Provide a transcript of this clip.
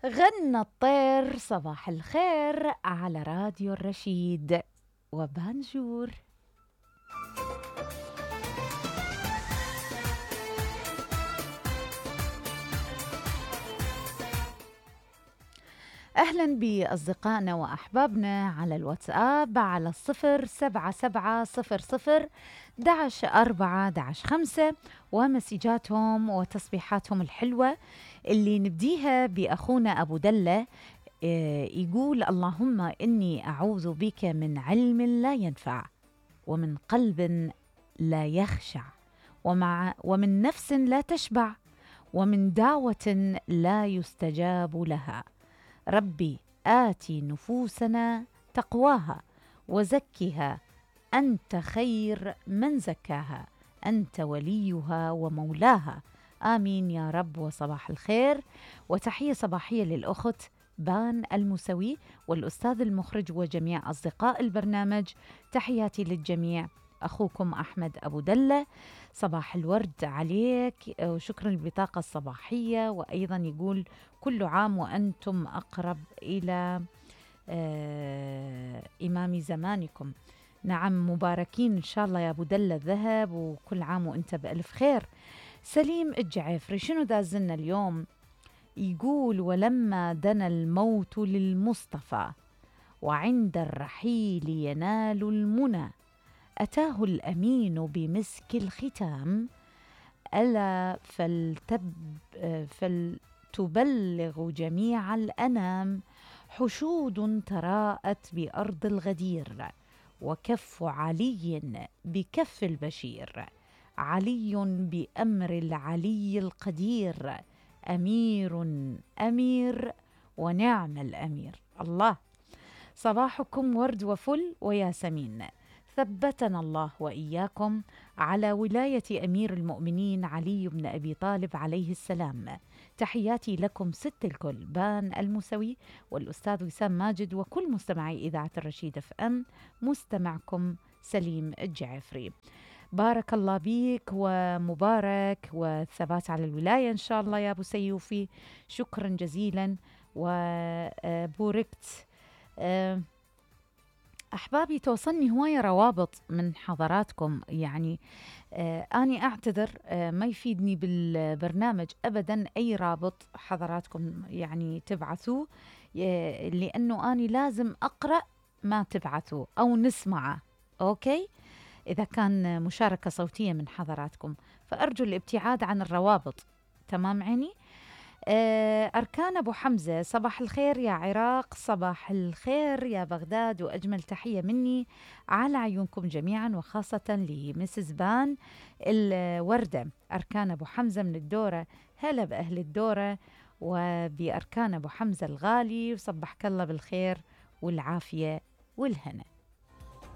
غنى الطير صباح الخير على راديو الرشيد وبانجور. أهلا بأصدقائنا وأحبابنا على الواتساب على 07700-11-4-5 ومسيجاتهم وتصبيحاتهم الحلوة اللي نبديها بأخونا أبو دلة. يقول: اللهم إني أعوذ بك من علم لا ينفع، ومن قلب لا يخشع، ومن نفس لا تشبع، ومن دعوة لا يستجاب لها. ربي آتي نفوسنا تقواها وزكها، أنت خير من زكاها، أنت وليها ومولاها. آمين يا رب. وصباح الخير وتحية صباحية للأخت بان الموسوي والأستاذ المخرج وجميع أصدقاء البرنامج. تحياتي للجميع. أخوكم أحمد أبو دلة. صباح الورد عليك وشكرا للبطاقة الصباحية. وأيضا يقول: كل عام وأنتم أقرب إلى إمام زمانكم. نعم، مباركين إن شاء الله يا أبو دلة الذهب، وكل عام وأنت بألف خير. سليم الجعفري شنو دازلنا اليوم؟ يقول: ولما دنا الموت للمصطفى وعند الرحيل ينال المنى، أتاه الأمين بمسك الختام، ألا فلتبلغ جميع الأنام، حشود تراءت بأرض الغدير، وكف علي بكف البشير، علي بأمر العلي القدير، أمير أمير ونعم الأمير. الله، صباحكم ورد وفل وياسمين. ثبتنا الله وإياكم على ولاية أمير المؤمنين علي بن أبي طالب عليه السلام. تحياتي لكم ست الكل، بان الموسوي والأستاذ وسام ماجد وكل مستمعي إذاعة الرشيد FM. مستمعكم سليم الجعفري. بارك الله بيك ومبارك والثبات على الولاية إن شاء الله يا أبو سيوفي. شكرا جزيلا وبوركت. أحبابي، توصلني هواية روابط من حضراتكم، يعني أني أعتذر ما يفيدني بالبرنامج أبدا أي رابط حضراتكم يعني تبعثوه، لأنه أني لازم أقرأ ما تبعثوه أو نسمعه. أوكي، إذا كان مشاركة صوتية من حضراتكم فأرجو الابتعاد عن الروابط. تمام عيني؟ أركان أبو حمزة: صباح الخير يا عراق، صباح الخير يا بغداد، وأجمل تحية مني على عيونكم جميعا، وخاصة لمسز بان الوردة. أركان أبو حمزة من الدورة، هلا بأهل الدورة وبأركان أبو حمزة الغالي، وصبحك الله بالخير والعافية والهنا.